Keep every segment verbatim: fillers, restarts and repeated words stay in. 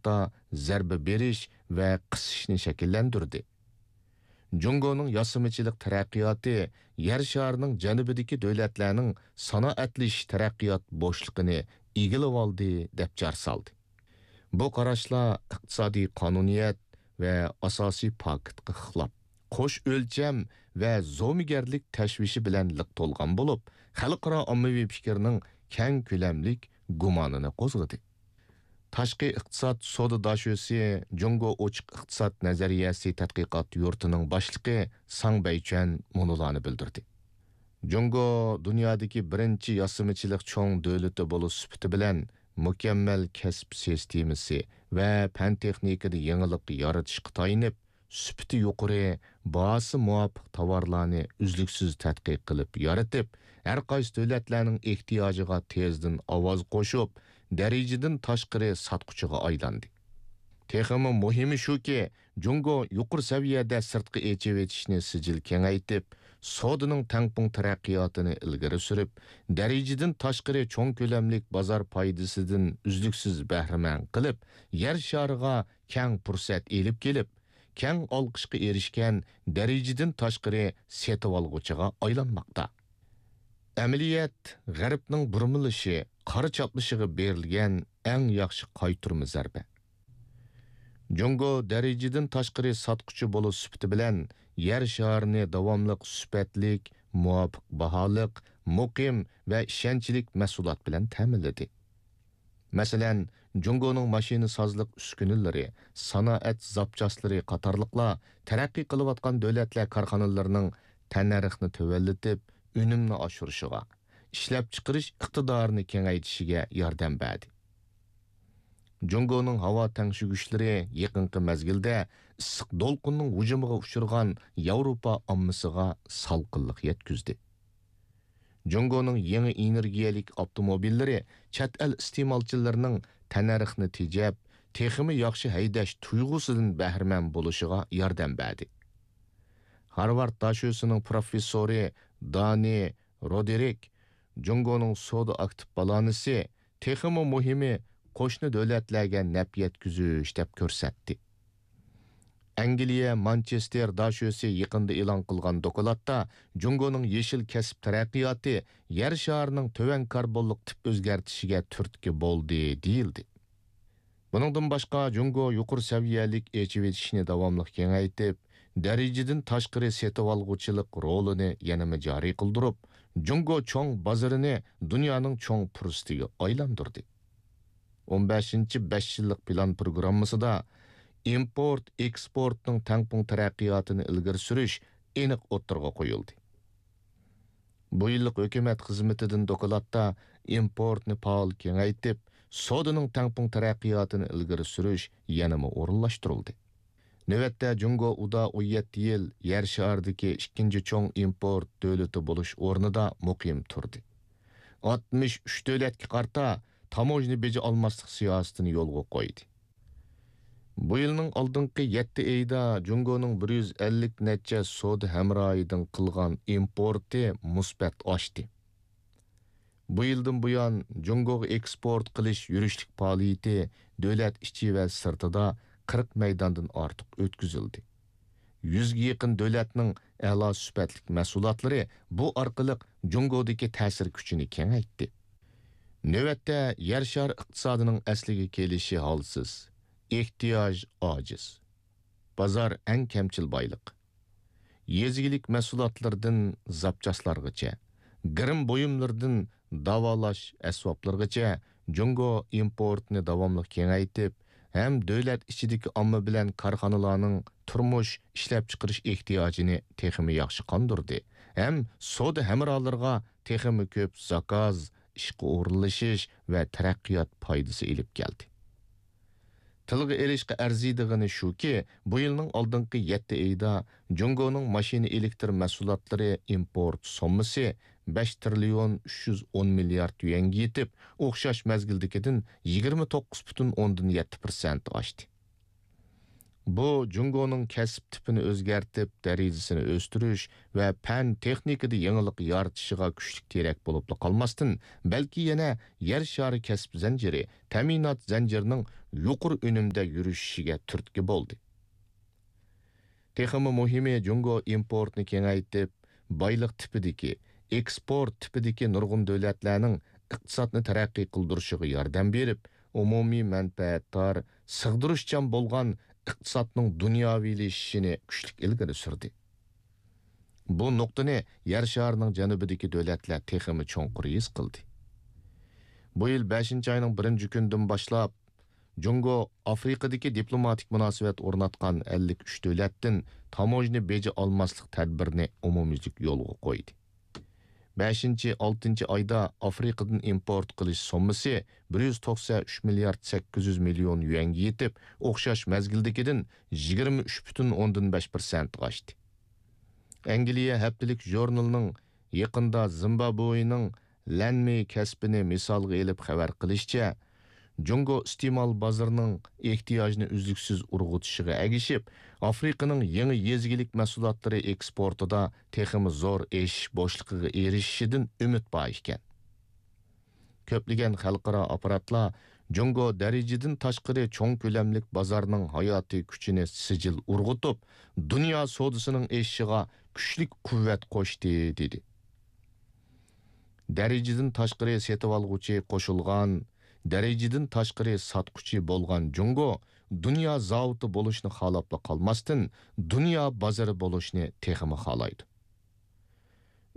ئىقتىسادتا زەربە بېرىش ۋە قىسىشنى شەكىللەندۈردى. جۇڭگونىڭ ياسىمىچىلىق تەرەققىياتى يەر شارىنىڭ جەنۇبىدىكى دۆلەتلەرنىڭ سانائەتلىشىش تەرەققىيات بوشلۇقىنى ئىگىلىۋالدى، دەپ جار سالدى. بۇ قاراشلار ئىقتىسادىي قانۇنىيەت ۋە ئاساسىي پاكىتقا خىلاپ، قوش ئۆلچەم ۋە زومىگەرلىك تەشۋىشى بىلەن لىق تولغان بولۇپ، خەلقئارا ئاممىۋى پىكىرنىڭ كەڭ كۆلەملىك گۇمانىنى قوزغىدى. تاشقى ئىقتىساد سودا داشۆسى جۇڭگو ئوچۇق ئىقتىساد نەزەرىيەسى تەتقىقات يۇرتىنىڭ باشلىقى ساڭ بەيچۈەن مۇنۇلارنى بىلدۈردى. جۇڭگو دۇنيادىكى بىرىنچى ياسىمىچىلىق چوڭ دۆلىتى بولۇش سۈپىتى بىلەن، مۇكەممەل كەسىپ سىستېمىسى ۋە پەن-تېخنىكىدا يېڭىلىق يارىتىشقا تايىنىپ، سۈپىتى يۇقىرى، باھاسى مۇۋاپىق تاۋارلارنى ئۈزلۈكسىز تەتقىق قىلىپ يارىتىپ، ھەر قايسى دۆلەتلەرنىڭ ئېھتىياجىغا تېزدىن ئاۋاز قوشۇپ، دەرىجىدىن تاشقىرى ساتقۇچىغا ئايلاندى. تېخىمۇ مۇھىمى شۇكى، جۇڭگو يۇقىرى سەۋىيەدە سىرتقا ئېچىۋېتىشنى سىجىل كېڭەيتىپ، سودىنىڭ تەڭپۇڭ تەرەققىياتىنى ئىلگىرى سۈرۈپ، دەرىجىدىن تاشقىرى چوڭ كۆلەملىك بازار پايدىسىدىن ئۈزلۈكسىز بەھرىمەن قىلىپ، يەر شارىغا كەڭ پۇرسەت ئېلىپ كېلىپ، كەڭ ئالقىشقا ئېرىشكەن دەرىجىدىن تاشقىرى سېتىۋالغۇچىغا ئايلانماقتا. ئەمەلىيەت غەربنىڭ بۇرمىلىشى، قارا چاپلىشىغا بېرىلگەن ئەڭ ياخشى قايتۇرما زەربە. جۇڭگو دەرىجىدىن تاشقىرى ساتقۇچى بولۇش سۈپىتى بىلەن يەر شارىنى داۋاملىق سۈپەتلىك، مۇۋاپىق باھالىق، مۇقىم ۋە ئىشەنچلىك مەھسۇلات بىلەن تەمىنلىدى. مەسىلەن، جۇڭگونىڭ ماشىنىسازلىق ئۈسكۈنىلىرى، سانائەت زاپچاسلىرى قاتارلىقلار تەرەققىي قىلىۋاتقان دۆلەتلەر كارخانىلىرىنىڭ تەننەرخنى تۆۋەنلىتىپ، ئۈنۈمنى ئاشۇرۇشىغا، ئىشلەپچىقىرىش ئىقتىدارىنى كېڭەيتىشىگە ياردەم بەردى. جۇڭگونىڭ ھاۋا تەڭشىگۈچلىرى يېقىنقى مەزگىلدە ئىسسىق دولقۇننىڭ ھۇجۇمىغا ئۇچرىغان ياۋروپا ئاممىسىغا سالقىنلىق يەتكۈزدى. جۇڭگونىڭ يېڭى ئېنېرگىيەلىك ئاپتوموبىللىرى چەت ئەل ئىستېمالچىلىرىنىڭ تەننەرخنى تېجەپ، تېخىمۇ ياخشى ھەيدەش تۇيغۇسىدىن بەھرىمەن بولۇشىغا ياردەم بەردى. خارۋارد داشۆسىنىڭ پروفېسسورى دانى رودېرىك جۇڭگونىڭ سودا ئاكتىپ بالانسى، تېخىمۇ مۇھىمى، قوشنا دۆلەتلەرگە نەپ يەتكۈزۈش، دەپ كۆرسەتتى. ئەنگلىيە مانچېستېر داشۆسى يېقىندا ئېلان قىلغان دوكلاتتا، جۇڭگونىڭ يېشىل كەسىپ تەرەققىياتى يەر شارىنىڭ تۆۋەن كاربونلۇق تىپ ئۆزگەرتىشىگە تۈرتكە بولدى، دېيىلدى. بۇنىڭدىن باشقا، جۇڭگو يۇقىرى سەۋىيەلىك ئېچىۋېتىشنى داۋاملىق كېڭەيتىپ، دەرىجىدىن تاشقىرى سېتىۋالغۇچىلىق رولىنى يەنىمۇ جارى قىلدۇرۇپ، جۇڭگو چوڭ بازىرىنى دۇنيانىڭ چوڭ پۇرسىتىگە ئايلاندۇردى. ئون بەشىنچى بەش يىللىق پىلان پروگراممىسىدا ئىمپورت، ئېكسپورتنىڭ تەڭپۇڭ تەرەققىياتىنى ئىلگىرى سۈرۈش ئېنىق ئوتتۇرىغا قويۇلدى. بۇ يىللىق ھۆكۈمەت خىزمىتىدىن دوكلاتتا ئىمپورتنى پائال كېڭەيتىپ، سودىنىڭ تەڭپۇڭ تەرەققىياتىنى ئىلگىرى سۈرۈش يەنىمۇ ئورۇنلاشتۇرۇلدى. نۆۋەتتە جۇڭگو ئۇدا ئون يەتتە يىل يەر شارىدىكى ئىككىنچى چوڭ ئىمپورت دۆلىتى بولۇش ئورنىدا مۇقىم تۇردى. ئاتمىش ئۈچ دۆلەتكە قارىتا تاموژنا بېجى ئالماسلىق سىياسىتىنى يولغا قويدى. بۇ يىلنىڭ ئالدىنقى يەتتە ئېيىدا جۇڭگونىڭ بىر يۈز ئەللىك نەچچە سودا ھەمراھىدىن قىلغان ئىمپورتى مۇسبەت ئاشتى. بۇ يىلدىن بۇيان، جۇڭگوغا ئېكسپورت قىلىش يۈرۈشلۈك پائالىيىتى دۆلەت ئىچى ۋە سىرتىدا قىرىق مەيداندىن ئارتۇق ئۆتكۈزۈلدى. يۈزگە يېقىن دۆلەتنىڭ ئەلا سۈپەتلىك مەھسۇلاتلىرى بۇ ئارقىلىق جۇڭگودىكى تەسىر كۈچىنى كېڭەيتتى. نۆۋەتتە يەر شارى ئىقتىسادىنىڭ ئەسلىگە كېلىشى ھالسىز، ئېھتىياج ئاجىز، بازار ئەڭ كەمچىل بايلىق. يېزا ئىگىلىك مەھسۇلاتلىرىدىن زاپچاسلارغىچە، گىرىم بۇيۇملىرىدىن داۋالاش ئەسۋابلىرىغىچە جۇڭگو ئىمپورتنى داۋاملىق كېڭەيتىپ، ھەم دۆلەت ئىچىدىكى ئامما بىلەن كارخانىلارنىڭ تۇرمۇش، ئىشلەپچىقىرىش ئېھتىياجىنى تېخىمۇ ياخشى قاندۇردى، ھەم سودا ھەمراھلىرىغا تېخىمۇ كۆپ زاكاز، ئىشقا ئورۇنلىشىش ۋە تەرەققىيات پايدىسى ئېلىپ كەلدى. تىلغا ئېلىشقا ئەرزىيدىغىنى شۇكى، بۇ يىلنىڭ ئالدىنقى يەتتە ئېيىدا جۇڭگونىڭ ماشىنا ئېلېكتر مەھسۇلاتلىرى ئىمپورت سوممىسى بەش تىرىليون ئۈچ يۈز ئون مىليارد يۈەنگە يېتىپ، ئوخشاش مەزگىلدىكىدىن يىگىرمە توققۇز پۈتۈن ئوندىن يەتتە پىرسەنت ئاشتى. بۇ جۇڭگونىڭ كەسىپ تىپىنى ئۆزگەرتىپ، دەرىجىسىنى ئۆستۈرۈش ۋە پەن-تېخنىكىدا يېڭىلىق يارىتىشىغا كۈچلۈك تىرەك بولۇپلا قالماستىن، بەلكى يەنە يەر شارى كەسىپ زەنجىرى، تەمىنات زەنجىرىنىڭ يۇقىرى ئۈنۈمدە يۈرۈشۈشىگە تۈرتكە بولدى. تېخىمۇ مۇھىمى، جۇڭگو ئىمپورتنى كېڭەيتىپ، بايلىق تىپىدىكى، ئېكسپورت تىپىدىكى نۇرغۇن دۆلەتلەرنىڭ ئىقتىسادنى تەرەققىي قىلدۇرۇشىغا ياردەم بېرىپ، ئومۇمىي مەنپەئەتدار، سىغدۇرۇشچان بولغان ئىقتىسادنىڭ دۇنياۋىلىشىشىنى كۈچلۈك ئىلگىرى سۈردى. بۇ نۇقتىنى يەر شارىنىڭ جەنۇبىدىكى دۆلەتلەر تېخىمۇ چوڭقۇر ھېس قىلدى. بۇ يىل بەشىنچى ئاينىڭ بىرىنچى كۈنىدىن باشلاپ، جۇڭگو ئافرىقىدىكى دىپلوماتىك مۇناسىۋەت ئورناتقان ئەللىك ئۈچ دۆلەتتىن تاموژنا بېجى ئالماسلىق تەدبىرىنى ئومۇميۈزلۈك يولغا قويدى. بەشىنچى، ئالتىنچى ئايدا ئافرىقىدىن ئىمپورت قىلىش سوممىسى بىر يۈز توقسەن ئۈچ مىليارد سەككىز يۈز مىليون يۈەنگە يېتىپ، ئوخشاش مەزگىلدىكىدىن يىگىرمە ئۈچ پۈتۈن ئوندىن بەش پىرسەنتقا ئاشتى. ئەنگلىيە ھەپتىلىك ژۇرنىلىنىڭ يېقىندا زىمبابۋېنىڭ لەنمېي كەسپىنى مىسالغا ئېلىپ خەۋەر قىلىشىچە، جۇڭگو ئىستېمال بازىرىنىڭ ئېھتىياجنى ئۈزلۈكسىز ئۇرغۇتۇشىغا ئەگىشىپ، ئافرىقىنىڭ يېڭى يېزا ئىگىلىك مەھسۇلاتلىرى ئېكسپورتىدا تېخىمۇ زور ئېشىش بوشلۇقىغا ئېرىشىشىدىن ئۈمىد بار ئىكەن. كۆپلىگەن خەلقئارا ئاپپاراتلار جۇڭگو دەرىجىدىن تاشقىرى چوڭ كۆلەملىك بازارنىڭ ھاياتىي كۈچىنى سىجىل ئۇرغۇتۇپ، دۇنيا سودىسىنىڭ ئېشىشىغا كۈچلۈك قۇۋۋەت قوشتى، دېدى. دەرىجىدىن تاشقىرى سېتىۋالغۇچى قوشۇلغان، دەرىجىدىن تاشقىرى ساتقۇچى بولغان جۇڭگو دۇنيا زاۋۇتى بولۇشنى خالاپلا قالماستىن، دۇنيا بازىرى بولۇشنى تېخىمۇ خالايدۇ.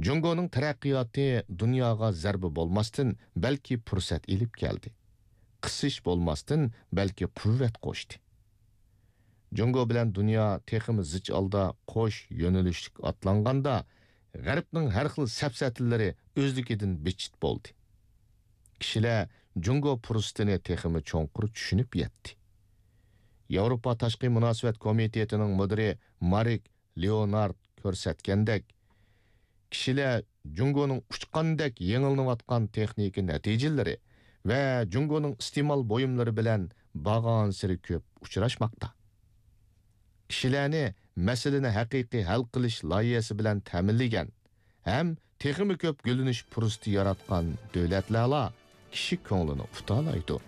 جۇڭگونىڭ تەرەققىياتى دۇنياغا زەربە بولماستىن، بەلكى پۇرسەت ئېلىپ كەلدى. قىسىش بولماستىن، بەلكى قۇۋۋەت قوشتى. جۇڭگو بىلەن دۇنيا تېخىمۇ زىچ ھالدا قوش يۆنىلىشلىك ئاتلانغاندا، غەربنىڭ ھەر خىل سەپسەتىلىرى ئۆزلۈكىدىن بىتچىت بولدى. كىشىلەر جۇڭگو پۇرسىتىنى تېخىمۇ چوڭقۇر چۈشىنىپ يەتتى. ياۋروپا تاشقى مۇناسىۋەت كومىتېتىنىڭ مۇدىرى مارك لېئونارد كۆرسەتكەندەك، كىشىلەر جۇڭگونىڭ ئۇچقاندەك يېڭىلىنىۋاتقان تېخنىكا نەتىجىلىرى ۋە جۇڭگونىڭ ئىستېمال بۇيۇملىرى بىلەن بارغانسېرى كۆپ ئۇچراشماقتا. كىشىلەرنى مەسىلىنى ھەقىقىي ھەل قىلىش لايىھەسى بىلەن تەمىنلىگەن ھەم تېخىمۇ كۆپ گۈللىنىش پۇرسىتى ياراتقان دۆلەتلەرلا كىشى كۆڭلىنى ئۇتالايدۇ.